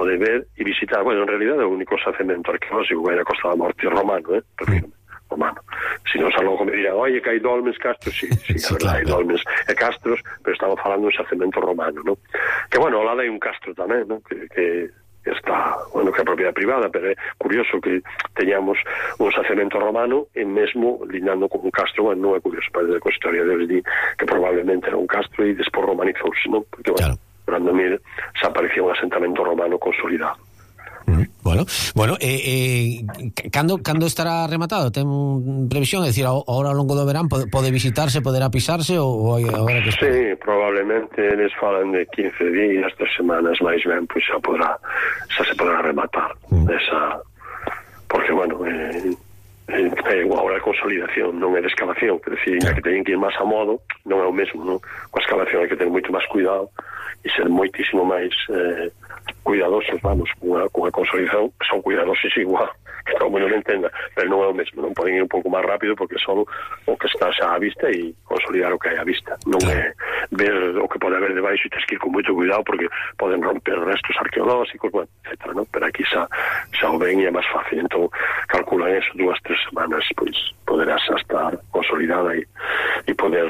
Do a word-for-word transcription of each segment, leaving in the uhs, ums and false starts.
pode ver e visitar. Bueno, en realidad é o único xacemento arqueolóxico que hai na Costa da Morte romano, eh? Refírome, romano. Si non xa logo me dirán, oye, que hai dolmens, castros, sí, sí, sí, a verdade, claro, hai dolmens e castros, pero estamos falando de un xacemento romano, ¿no? Que, bueno, ao lado hai un castro tamén, ¿no? Que, que está, bueno, que é propiedade privada, pero é curioso que teñamos un xacemento romano e mesmo lindando con un castro. Bueno, non é curioso, parece que a historia deles di que probablemente era un castro e despois romanizouse, non? Porque, bueno, claro, Brandomil xa aparecía un asentamento romano consolidado. Mm, bueno, bueno, eh, eh, cando, cando estará rematado? Ten previsión? É dicir, ahora ao longo do verán pode, pode visitarse, poderá pisarse ou, ou agora que espera? Sí, probablemente eles falan de quince días, tres semanas máis ben, pois xa podrá, xa se podrá rematar mm. esa, porque bueno, eh, eh, agora a consolidación non é de excavación, que decir, claro, que teñen que ir máis a modo, non é o mesmo, non? Coa excavación hai que ter moito máis cuidado e ser moitísimo máis eh, cuidadosos, vamos, cunha, cunha consolidación, son cuidadosos igual, que todo o mundo non entenda, pero non é o mesmo, non poden ir un pouco máis rápido porque son o que está xa á vista e consolidar o que hai á vista, non é ver o que pode haber debaixo e tens que ir con moito cuidado porque poden romper restos arqueolóxicos, bueno, etcétera, non? Pero aquí xa, xa o ven e é máis fácil, entón calculan eso, dúas, tres semanas, pois poderás estar consolidada e, e poder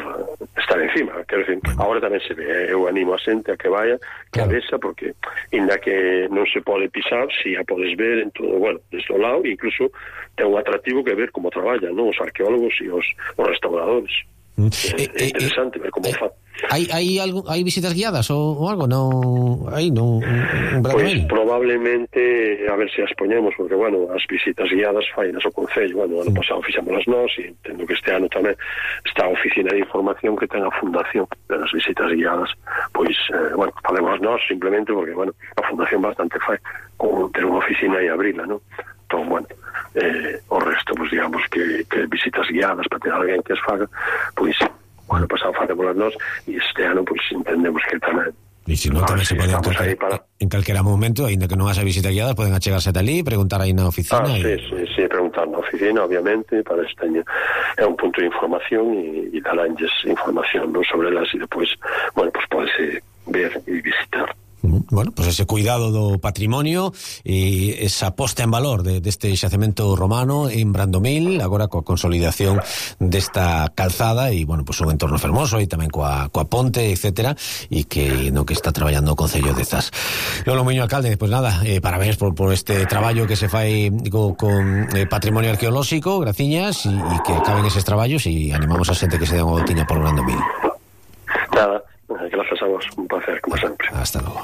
estar encima, quero dicir, agora tamén se ve, eu animo a xente a que vaya, que a vexa, porque inda que non se pode pisar, si a podes ver en todo, bueno, desde o lado, incluso ten un atractivo que ver como traballan, non? Os arqueólogos e os, os restauradores. Mm. É, é interesante eh, ver como eh, fa. Hai hai algo, hai visitas guiadas ou, ou algo? Non, aí non. Pois pues, probablemente a ver se as poñemos, porque bueno, as visitas guiadas fainas o Concello, bueno, ano pasado fixámolas nós e entendo que este ano tamén está a oficina de información que ten a fundación das visitas guiadas, pois eh, bueno, falemos nós simplemente porque bueno, a fundación bastante fai con ter unha oficina e abrila, non? Entón, bueno, eh, o resto, pues digamos que, que visitas guiadas para ter alguén que as faga, pois bueno, pasado facémolas nós e este ano pois pues, entendemos que tamén e se non tamén se pode en, para... en calquera momento, ainda que non haxa visita guiada, poden achegarse ata ali, preguntar aí na oficina. Ah, e... sí, sí, sí, preguntar na oficina, obviamente, para este año é un punto de información e, e daránlles información, non, sobre elas e depois, bueno, pues podese ver e visitar. Bueno, pues ese cuidado do patrimonio e esa posta en valor de, deste xacemento romano en Brandomil, agora coa consolidación desta calzada e, bueno, pues un entorno fermoso e tamén coa, coa ponte, etcétera, e que no que está traballando o Concello de Zas. Lolo Muiño, alcalde, pues nada, eh, parabéns por, por este traballo que se fai co, con eh, patrimonio arqueolóxico, graciñas, e, e que acaben eses traballos e animamos a xente que se den unha voltiña por Brandomil. Nada, gracias a vos, un placer, como sempre. Hasta logo.